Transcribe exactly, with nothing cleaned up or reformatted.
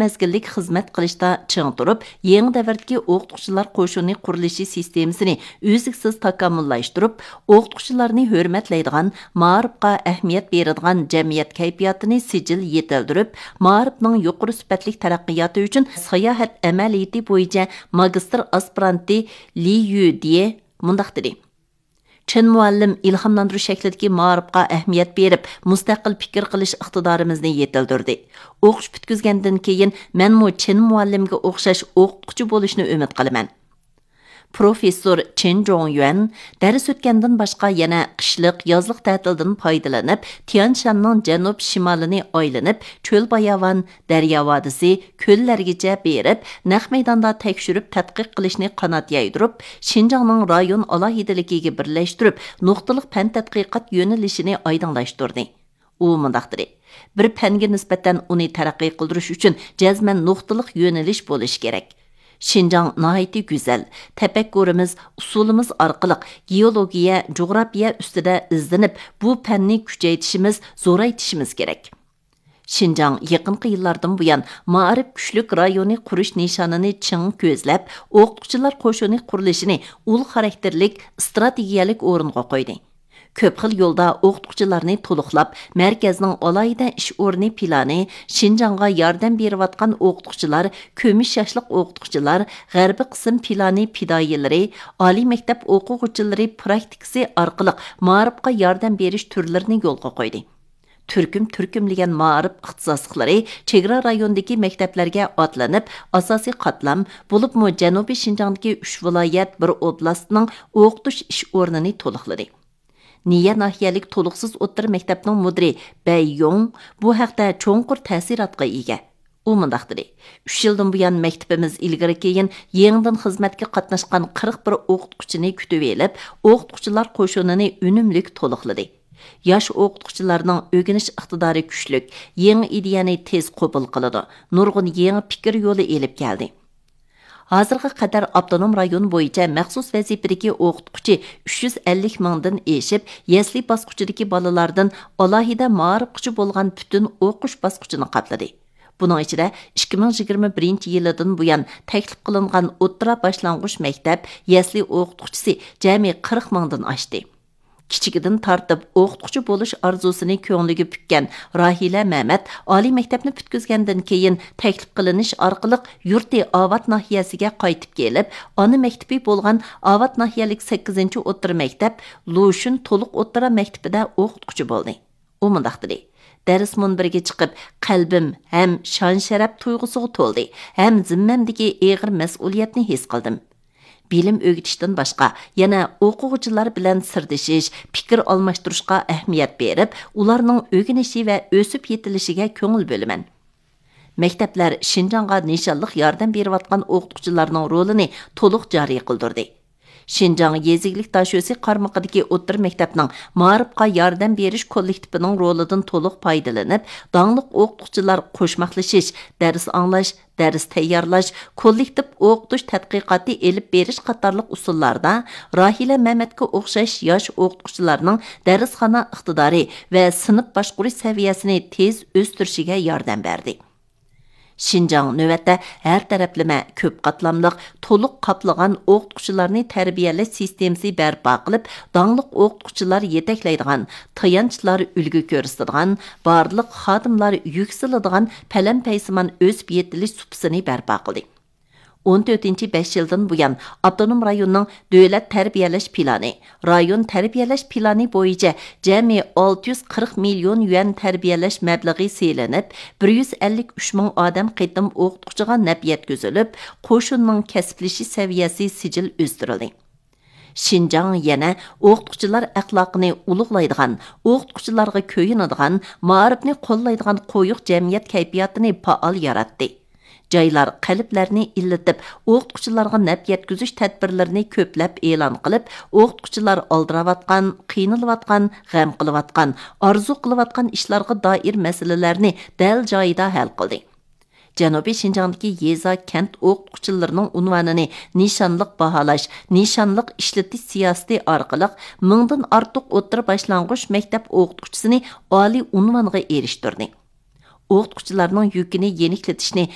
مەزگىللىك خىزمەت قىلىشتا چىڭ تۇرۇپ، يېڭى دەۋردىكى ئوقۇتقۇچىلار قوشۇنى قۇرۇلۇشى سىستېمىسىنى ئۈزلۈكسىز تاكامۇللاشتۇرۇپ، ئوقۇتقۇچىلارنى ھۆرمەتلەيدىغان، مائارىپقا ئەھمىيەت بېرىدىغان جەمئىيەت كەيپىياتىنى سىجىل يېتىلدۈرۈپ، مائارىپنىڭ يۇقىرى سۈپەتلىك تەرەققىياتى ئۈچۈن ساياھەت ئەمەلىيىتى بويىچە ماگىستىر ئاسپىرانتى لى يۈدىيې مۇنداق دېدى: چېن مۇئەللىم ئىلھاملاندۇرۇش شەكلىدىكى مائارىپقا ئەھمىيەت بېرىپ، مۇستەقىل پىكىر قىلىش ئىقتىدارىمىزنى يېتىلدۈردى. ئوقۇش پۈتكۈزگەندىن كېيىن مەنمۇ چېن مۇئەللىمگە ئوخشاش ئوقۇتقۇچى بولۇشنى ئۈمىد قىلىمەن. پروفېسسور چېن جوڭيۈەن دەرس ئۆتكەندىن باشقا يەنە قىشلىق، يازلىق تەتىلدىن پايدىلىنىپ، تيەنشاننىڭ جەنۇب شىمالىنى ئايلىنىپ، چۆل باياۋان، دەريا ۋادىسى، كۆللەرگىچە بېرىپ، نەق مەيداندا تەكشۈرۈپ تەتقىق قىلىشنى قانات يايدۇرۇپ، شىنجاڭنىڭ رايون ئالاھىدىلىكىگە بىرلەشتۈرۈپ، نۇقتىلىق پەن تەتقىقات يۆنىلىشىنى ئايدىڭلاشتۇردى. ئۇ مۇنداق دېدى: بىر پەنگە نىسبەتەن ئۇنى تەرەققىي قىلدۇرۇش ئۈچۈن جەزمەن نۇقتىلىق يۆنىلىش بولۇشى كېرەك. شىنجاڭ ناھايىتى گۈزەل، تەپەككۇرىمىز، ئۇسۇلىمىز ئارقىلىق گېئولوگىيە، جۇغراپىيە ئۈستىدە ئىزدىنىپ، بۇ پەننى كۈچەيتىشىمىز، زورايتىشىمىز كېرەك. شىنجاڭ يېقىنقى يىللاردىن بۇيان مائارىپ كۈچلۈك رايونى قۇرۇش نىشانىنى چىڭ كۆزلەپ، ئوقۇتقۇچىلار قوشۇنى قۇرۇلۇشىنى ئۇل خاراكتېرلىك ئىستراتېگىيەلىك ئورۇنغا قويدى. كۆپ خىل يولدا ئوقۇتقۇچىلارنى تولۇقلاپ، مەركەزنىڭ ئالاھىدە ئىش ئورنى پىلانى، شىنجاڭغا ياردەم بېرىۋاتقان ئوقۇتقۇچىلار، كۈمۈش ياشلىق ئوقۇتقۇچىلار، غەربىي قىسىم پىلانى پىدائىيلىرى، ئالىي مەكتەپ ئوقۇغۇچىلىرى پراكتىكىسى ئارقىلىق مائارىپقا ياردەم بېرىش تۈرلىرىنى يولغا قويدى. تۈركۈم تۈركۈملىگەن مائارىپ ئىختىساسلىقلىرى چېگرا رايونىدىكى مەكتەپلەرگە ئاتلىنىپ، ئاساسىي قاتلام، بولۇپمۇ جەنۇبىي شىنجاڭدىكى ئۈچ ۋىلايەت، بىر ئوبلاستنىڭ ئوقۇتۇش ئىش ئورنىنى تولۇقلىدى. نىيە ناھىيەلىك تولۇقسىز ئوتتۇرا مەكتەپنىڭ مۇدىرى بەي يوڭ بۇ ھەقتە چوڭقۇر تەسىراتقا ئىگە. ئۇ مۇنداق دېدى: «ئۈچ يىلدىن بۇيان مەكتىپىمىز ئىلگىرى كېيىن يېڭىدىن خىزمەتكە قاتناشقان قىرىق بىر ئوقۇتقۇچىنى كۈتۈۋېلىپ، ئوقۇتقۇچىلار قوشۇنىنى ئۈنۈملۈك تولۇقلىدى. ياش ئوقۇتقۇچىلارنىڭ ئۆگىنىش ئىقتىدارى كۈچلۈك، يېڭى ئىدىيەنى تېز قوبۇل قىلىدۇ، نۇرغۇن يېڭى پىكىر يولى ئېلىپ كەلدى.» ھازىرغا قەدەر ئاپتونوم رايون بويىچە مەخسۇس ۋەزىپىدىكى ئوقۇتقۇچى ئۈچ يۈز ئەللىك مىڭدىن ئېشىپ، يەسلى باسقۇچىدىكى بالىلاردىن ئالاھىدە مائارىپقىچە بولغان پۈتۈن ئوقۇش باسقۇچىنى قاپلىدى. بۇنىڭ ئىچىدە ئىككى مىڭ يىگىرمە بىرىنچى يىلىدىن بۇيان تەكلىپ قىلىنغان ئوتتۇرا باشلانغۇچ مەكتەپ يەسلى ئوقۇتقۇچىسى جەمئىي قىرىق مىڭدىن ئاشتى. كىچىكىدىن تارتىپ ئوقۇتقۇچى بولۇش ئارزۇسىنى كۆڭلىگە پۈككەن راھىلە مەمەت ئالىي مەكتەپنى پۈتكۈزگەندىن كېيىن، تەكلىپ قىلىنىش ئارقىلىق يۇرتى ئاۋات ناھىيەسىگە قايتىپ كېلىپ، ئانا مەكتىپى بولغان ئاۋات ناھىيەلىك سەككىزىنچى ئوتتۇرا مەكتەپ لۇشۈن تولۇق ئوتتۇرا مەكتىپىدە ئوقۇتقۇچى بولدى. ئۇ مۇنداق دېدى: «دەرس مۇنبىرىگە چىقىپ، قەلبىم ھەم شان شەرەپ تۇيغۇسىغا تولدى، ھەم زىممەمدىكى ئېغىر مەسئۇلىيەتنى ھېس قىلدىم. بىلىم ئۆگىتىشتىن باشقا، يەنە ئوقۇغۇچىلار بىلەن سىردىشىش، پىكىر ئالماشتۇرۇشقا ئەھمىيەت بېرىپ، ئۇلارنىڭ ئۆگىنىشى ۋە ئۆسۈپ يېتىلىشىگە كۆڭۈل بۆلىمەن.» مەكتەپلەر شىنجاڭغا نىشانلىق ياردەم بېرىۋاتقان ئوقۇتقۇچىلارنىڭ رولىنى تولۇق جارى قىلدۇردى. شىنجاڭ يېزا ئىگىلىك داشۆسى قارمىقىدىكى ئوتتۇرا مەكتەپنىڭ مائارىپقا ياردەم بېرىش كوللېكتىپىنىڭ رولىدىن تولۇق پايدىلىنىپ، داڭلىق ئوقۇتقۇچىلار قوشماقلىشىش، دەرس ئاڭلاش، دەرس تەييارلاش، كوللېكتىپ ئوقۇتۇش تەتقىقاتى ئېلىپ بېرىش قاتارلىق ئۇسۇللاردا راھىلە مەمەتكە ئوخشاش ياش ئوقۇتقۇچىلارنىڭ دەرسخانا ئىقتىدارى ۋە سىنىپ باشقۇرۇش سەۋىيەسىنى تېز ئۆستۈرۈشىگە ياردەم بەردى. شىنجاڭ نۆۋەتتە ھەر تەرەپلىمە، كۆپ قاتلاملىق، تولۇق قاپلىغان ئوقۇتقۇچىلارنى تەربىيەلەش سىستېمىسى بەرپا قىلىپ، داڭلىق ئوقۇتقۇچىلار يېتەكلەيدىغان، تايانچلار ئۈلگە كۆرسىتىدىغان، بارلىق خادىملار يۈكسىلىدىغان پەلەمپەيسىمان ئۆسۈپ يېتىلىش سۇپىسىنى بەرپا قىلدى. ئون تۆتىنچى بەش يىلدىن بۇيان، ئاپتونوم رايوننىڭ دۆلەت تەربىيەلەش پىلانى، رايون تەربىيەلەش پىلانى بويىچە جەمئىي ئالتە يۈز قىرىق مىليون يۈەن تەربىيەلەش مەبلىغى سېلىنىپ، بىر يۈز ئەللىك ئۈچ مىڭ ئادەم قېتىم ئوقۇتقۇچىغا نەپ يەتكۈزۈلۈپ، قوشۇننىڭ كەسىپلىشىش سەۋىيەسى سىجىل ئۆستۈرۈلدى. شىنجاڭ يەنە ئوقۇتقۇچىلار ئەخلاقىنى ئۇلۇغلايدىغان، ئوقۇتقۇچىلارغا كۆيۈنىدىغان، مائارىپنى قوللايدىغان قويۇق جەمئىيەت كەيپىياتىنى پائال ياراتتى. جايلار قەلبلەرنى ئىللىتىپ، ئوقۇتقۇچىلارغا نەپ يەتكۈزۈش تەدبىرلىرىنى كۆپلەپ ئېلان قىلىپ، ئوقۇتقۇچىلار ئالدىراۋاتقان، قىينىلىۋاتقان، غەم قىلىۋاتقان، ئارزۇ قىلىۋاتقان ئىشلارغا دائىر مەسىلىلەرنى دەل جايىدا ھەل قىلدى. جەنۇبىي شىنجاڭدىكى يېزا، كەنت ئوقۇتقۇچىلىرىنىڭ ئۇنۋانىنى نىشانلىق باھالاش، نىشانلىق ئىشلىتىش سىياسىتى ئارقىلىق مىڭدىن ئارتۇق ئوتتۇرا باشلانغۇچ مەكتەپ ئوقۇتقۇچىسىنى ئالىي ئۇنۋانغا ئېرىشتۈردى. ئوقۇتقۇچىلارنىڭ يۈكىنى يېنىكلىتىشنى